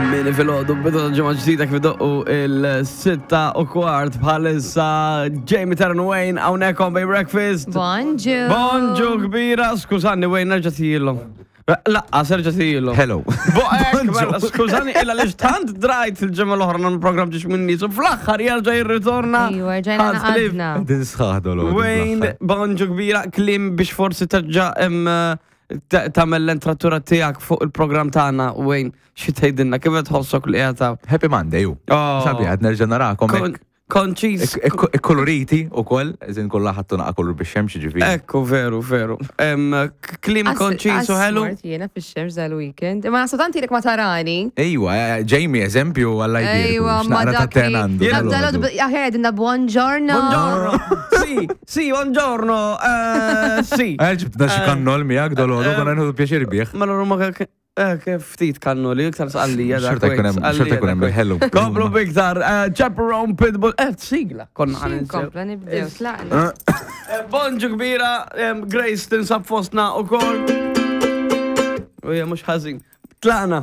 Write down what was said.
Kmieni filgħodu bidu ta' ġimgħa ġdida kif idoqqu il-6:15 bħalissa Jamie Taron Wayne hawnhekk on Bay Breakfast. Bonġu. Bonġu kbira, skużani Wayne nerġa' tijilhom. Laqqa, serġa' tijilhom. Hello. Boqek, mela, skużani, illa li tant drajt il-ġimgħa l-oħra nagħmlu programm ġiex minn nies u fl-aħħar jerġa' jirritorna. Ejwa, rġajna Ħadd ħlief. naqadna. Din sħaħ dolo. Wayne, bonġu kbira, klim biex forsi terġa' em, tagħmel l-entratura tiegħek fuq il-programm tagħna, Wayne, xi tgħidilna kif qed tħossok li qiegħed hawn? Happy Monday, ju. Oh. Sabiħ, għad nerġa' narakom. hekk. Konċis. Ikkoloriti u koll, eżin kollha ħattu naqa kollu biex xemx ġifieri. Ekku, veru, veru. Klim konċis u ħelu. Mort jiena fix-xemx dal-weekend. Imma nasu tant ilek ma tarani. Ejwa, eh, Jamie, eżempju, għalla jbierku. Ejwa, ma X'naqra ta' dak ten għandu. li. dal-għodu. Aħjar għedinna buongiorno. Buongiorno. Sì, sì, buongiorno. Eh, Sì. Eh, ġibtna xi kannol miegħek dal-għodu, konna nieħdu pjaċir bih. Mela ruma eh, ftit kannoli, iktar sqallija. dak, Xorta jkun hemm- wait, xorta jkun hemm sqallija, il-ħelu. dak, wait. Komplu biktar, eh, Chaperone Pitbull, eh, sigla, konna ħan Kompla nibdew, tlaqna. Eh, Bonġu kbira, em, Grace tinsab fostna u kol. U hija mhux ħażin. Tlaqna.